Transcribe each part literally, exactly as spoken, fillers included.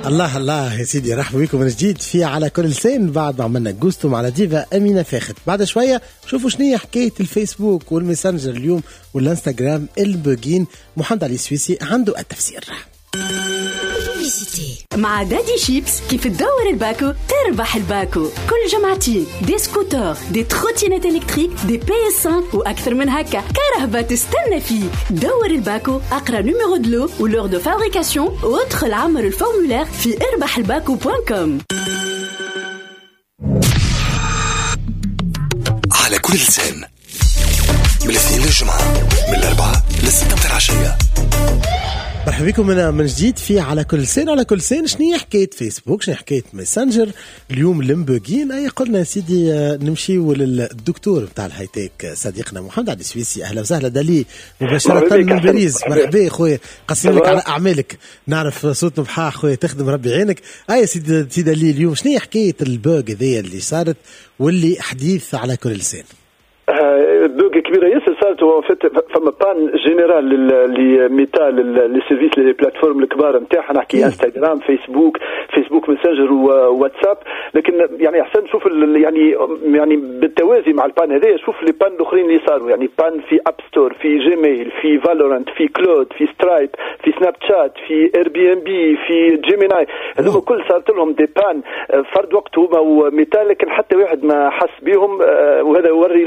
الله الله يا سيدي، رحبوا بكم من جديد في على كل لسان بعد ما عملنا جوستو مع ديفا أمينة فاخت. بعد شوية شوفوا شنو هي حكاية الفيسبوك والميسنجر اليوم والانستغرام البوجين. محمد علي السويسي عنده التفسير. مع دادي شيبس كيف تدور الباكو تربح الباكو. كل جمعتين des scooters، des trottinettes électriques، des P S خمسة واكثر من هكا. كرهبة تستنى فيك. دور الباكو، اقرا numéro de lot و l'heure de fabrication وادخل عمر ال formulaire في اربح الباكو point com. على كل لسان من الاثنين للجمعة من الأربعة للستة متاع العشية. مرحبا بكم من من جديد في على كل لسان. على كل لسان شنو هي حكاية فيسبوك، شنو هي حكاية ميسنجر اليوم المبوغين؟ اي قلنا يا سيدي نمشيو للدكتور نتاع ال high-tech صديقنا محمد علي السويسي. اهلا وسهلا دالي مباشرة من باريس. مرحبا خويا، قصير لك على اعمالك، نعرف صوت نبحاح خويا، تخدم ربي يعينك. اي سيدي سيدي دالي، اليوم شنو هي حكاية ال bug هذيا اللي صارت واللي حديث على كل لسان؟ bug كبيرة ياسر صارت. هو فما panne générale لميتا، les services، les plateformes الكبار نتاعها، نحكي انستغرام، فيسبوك، فيسبوك ميسنجر وواتساب. لكن يعني احسن نشوف يعني يعني بالتوازي مع ال panne هذايا شوف les pannes الاخرين اللي صاروا. يعني panne في اب ستور، في جيميل، في فالورانت، في كلود، في سترايب، في سناب شات، في اير بي ام بي، في جيميناي. هذوما كل صارت لهم des pannes فرد وقت هما وميتا، لكن حتى واحد ما حس بهم. وهذا يوري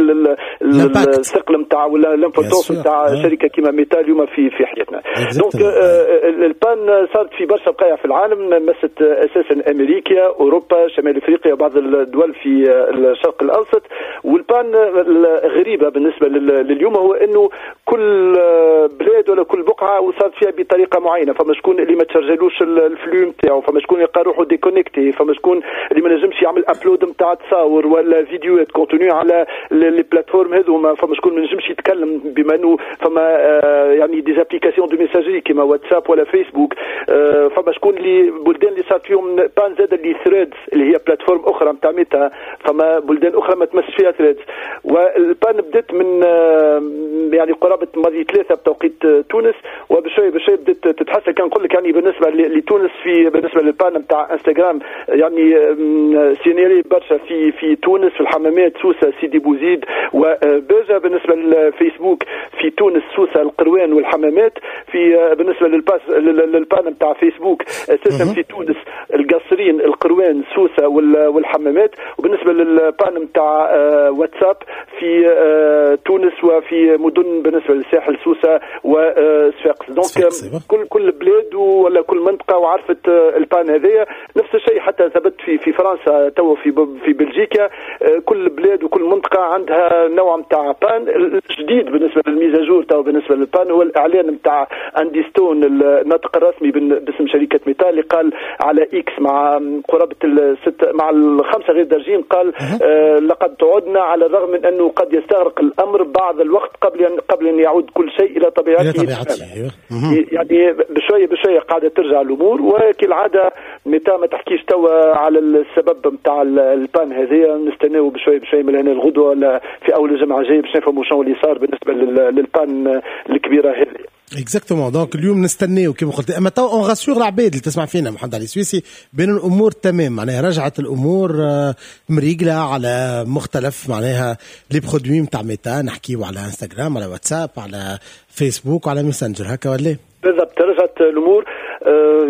الثقل نتاع ولا l'importance نتاع شركة كيما ميتا اليوم في في حياتنا. donc ال panne صارت في برشا بقايع في العالم، مست اساسا امريكا، اوروبا، شمال افريقيا، بعض الدول في الشرق الاوسط. وال panne الغريبة بالنسبة لليوم هو انه كل بلاد ولا كل بقعة وصارت فيها بطريقة معينة. فما شكون اللي ما تشرجلوش ال flux نتاعو، فما شكون يلقى روحه déconnecté، فما شكون اللي ما نجمش يعمل upload نتاع تصاور ولا فيديوهات contenu على les plateformes هذوما، فما شكون ما نجمش يتكلم بما انه فما آه يعني des applications de messagerie كيما واتساب ولا فيسبوك. آه فما شكون اللي بلدان اللي صارت فيهم panne زاد اللي ثريدز اللي هي plateforme اخرى نتاع ميتا، فما بلدان اخرى ما تمسش فيها ثريدز. وال panne بدات من آه يعني قرابة ماضي ثلاثة بتوقيت تونس، وبشوي بشوي بدات تتحسن. كان نقول لك يعني بالنسبة لتونس في بالنسبة لل panne نتاع انستغرام يعني signalé برشا في في تونس، في الحمامات، سوسة، سيدي بوزيد وباجة. بالنسبة للفيسبوك في تونس، سوسة، القروان والحمامات. في بالنسبة للباس لل panne نتاع فيسبوك اساسا في تونس القصرين، القروان، سوسة والحمامات. وبالنسبة لل panne نتاع واتساب في تونس وفي مدن بالنسبة للساحل، سوسة وصفاقس. donc كل كل بلاد ولا كل منطقة وعرفت ال panne هذايا. نفس الشيء حتى ثبت في في فرنسا تو في في بلجيكا، كل بلاد وكل منطقة عندها نوع نتاع panne. الجديد بالنسبة لل mise à jour تو بالنسبة لل panne هو الاعلان نتاع اندي ستون الناطق الرسمي باسم شركة ميتا اللي قال على اكس مع قرابة الست مع الخمسة غير درجين، قال آه لقد تعدنا على الرغم من انه قد يستغرق الامر بعض الوقت قبل ان قبل ان يعود كل شيء الى طبيعته. يعني بشوية بشوية قاعدة ترجع الامور. وكالعادة ميتا ما تحكيش توا على السبب نتاع ال panne هذه، نستناو بشوية بشوية من هنا الغدوه ولا في اول الجمعة الجاية باش نفهموا شنو اللي صار بالنسبة لل panne الكبيرة هذه. exactement. donc اليوم نستناو كيما قلت، اما تو on rassure العباد اللي تسمع فينا محمد علي السويسي بين الامور تمام، معناها رجعت الامور مريقله على مختلف معناها les produits نتاع ميتا، نحكيو على انستغرام، على واتساب، على فيسبوك، وعلى ميسنجر، هكا ولا؟ بالضبط رجعت الامور.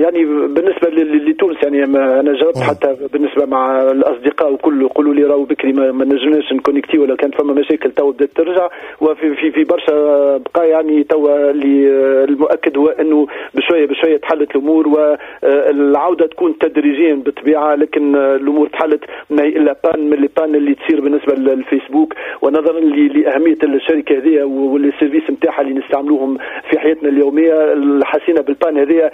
يعني بالنسبة لتونس يعني انا جربت حتى بالنسبة مع الاصدقاء وكل يقولوا لي راهو بكري ما نجمناش نكونكتي ولا كانت فما مشاكل، تو بدات ترجع. وفي في في برشا بقى يعني تو اللي المؤكد هو انه بشوية بشوية تحلت الامور والعودة تكون تدريجيا بالطبيعة، لكن الامور تحلت ما هي الا panne من les pannes اللي تصير بالنسبة للفيسبوك. ونظرا لاهمية الشركة هذه و les services نتاعها اللي نستعملوهم في حياتنا اليومية، حسينا بال panne هذه.